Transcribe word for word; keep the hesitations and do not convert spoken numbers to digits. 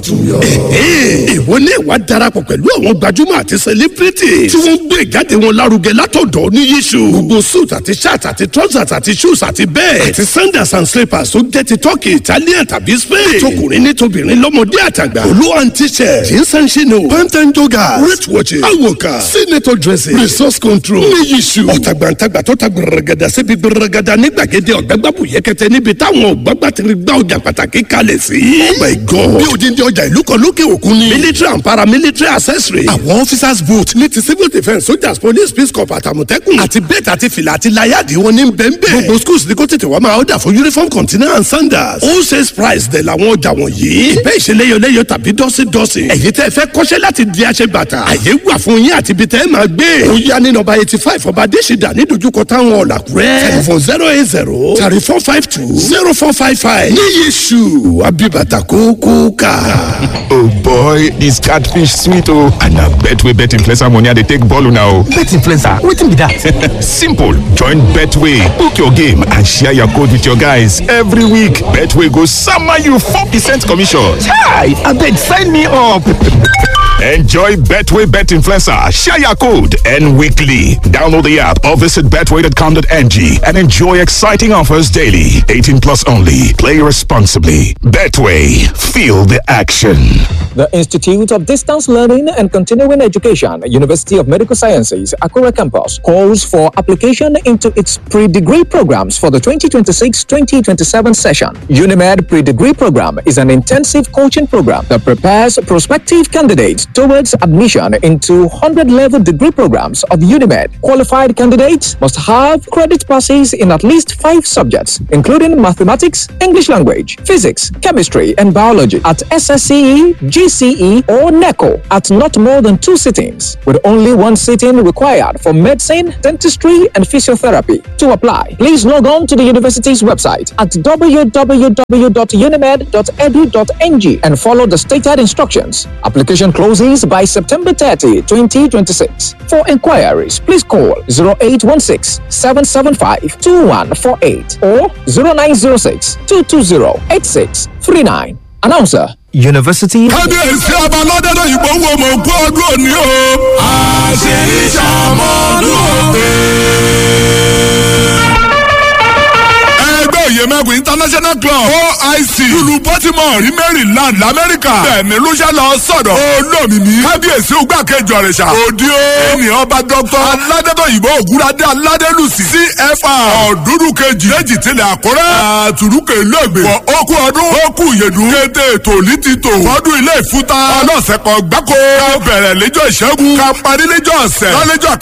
tuntun yọ. Ìwọ ní ìwà darapọ̀ pẹ̀lú àwọn gbajúmọ̀ àti celebrity tí wọ́n ń gbé ìjáde wọn lárugẹ látọ̀dọ̀ ní yíṣu. Gbogbo suit àti shirt àti trousers àti shoes àti bẹ́ẹ̀ àti sandals and slippers tó jẹ́ ti Turkey, Italian tàbí Spain. Tọkùnrin ní tobìnrin, lọ́mọdé àtàgbà. Olú and t-shirt, jeans and chino, pant and joggers, wrist watches, awoka, senator dressing, resource control ní yíṣu. Ọ̀tàgbàǹtàgbà tó ta gbẹrẹgẹdà síbi gbẹrẹgẹdà ní gbàgede ọ̀gbẹ́gbàbù yẹkẹtẹ níbi táwọn ọ̀gbàgbà ti gbá ọjà pàtàkì kalẹ̀ sí. Oh my God! Bí odindi ọjà ìlú kan lókè òkun ni. Military and paramilitary accessory. Àwọn officers boot ní ti civil defence, soldiers, police, peace corps, àtàmọ̀tẹ́kùn. Àti bẹ́ẹ̀tì àti fìlà àti láyàdì wọn ní bẹ́ẹ̀nbẹ́ẹ̀. Gbogbo schools ní kó tètè wá máa order fún uniform, container and sandals. Wholesale price dẹ̀ làwọn ọjà wọ̀nyí. Ìbẹ́ ìṣeléyọléyọ tàbí dọ́sídọ́sí. Ẹ̀yin tẹ́ fẹ́ kọ́ṣẹ́ láti di aṣebàtà, àyè wà fún yín àti ibi tẹ́ ẹ máa gbé. Ó yá ní nọ́mbà eighty five Ọba Adésìdá ní dojúkọ táwọn ọ̀làkúrẹ́. Telephone zero eight zero thirty four five two zero four five five. Ní Yéṣu Abibata kókó ká. Oh boy, this catfish sweet oh. And na Betway bet influencer money I dey take ball now. Bet influencer, wetin be that? Simple. Join Betway, book your game and share your code with your guys every week. Betway go sama you four percent commission. Chai, abeg sign me up. Enjoy Betway Bet Influencer, share your code, and weekly. Download the app or visit betway dot com dot N G and enjoy exciting offers daily. eighteen plus only. Play responsibly. Betway, feel the action. The Institute of Distance Learning and Continuing Education, University of Medical Sciences, Akure Campus, calls for application into its pre-degree programs for the twenty twenty-six twenty twenty-seven session. UNIMED Pre-Degree Program is an intensive coaching program that prepares prospective candidates towards admission into hundred-level degree programs of UNIMED. Qualified candidates must have credit passes in at least five subjects, including mathematics, English language, physics, chemistry, and biology at S S C E, G C E, or NECO at not more than two sittings, with only one sitting required for medicine, dentistry, and physiotherapy. To apply, please log on to the university's website at w w w dot unimed dot edu dot n g and follow the stated instructions. Application closes by September thirtieth, twenty twenty-six. For inquiries, please call zero eight one six seven seven five two one four eight or zero nine zero six two two zero eight six three nine. Announcer, University. Kábíyèsí ọba lọ́dẹ́dẹ́ ìbò wo mọ̀ kú ọdún òní o. Àṣẹ ìṣàmọ́dún òde. Ẹgbẹ́ Òyèmẹ́kùn International Club, O I C, lulu Baltimore rí Maryland lamẹ́ríkà. Bẹ́ẹ̀ni lóṣẹ́ lọ sọ̀dọ̀ olómìnì kábíyèsí ògbàkejì ọ̀rẹ́sà òdi o. Ènìyàn ọba Dókítà Aládétòyìnbó Ògúnradé Aládélùsì C F R ọ̀dúnrún kejì méjì tilẹ̀ Àkúrẹ́ àtúrúkè lẹ́gbẹ̀ẹ́ wọ ókú ọdún ókú ìyèdún kété ètò òní ti tò fọdún ilé ìfúta ọlọ́sẹ̀ kan gbáko. Ká bẹ̀rẹ̀ lẹ́jọ́ ìṣẹ́gun, ká parí lẹ́jọ́ ọ̀sẹ̀ lọ́lẹ́jọ́.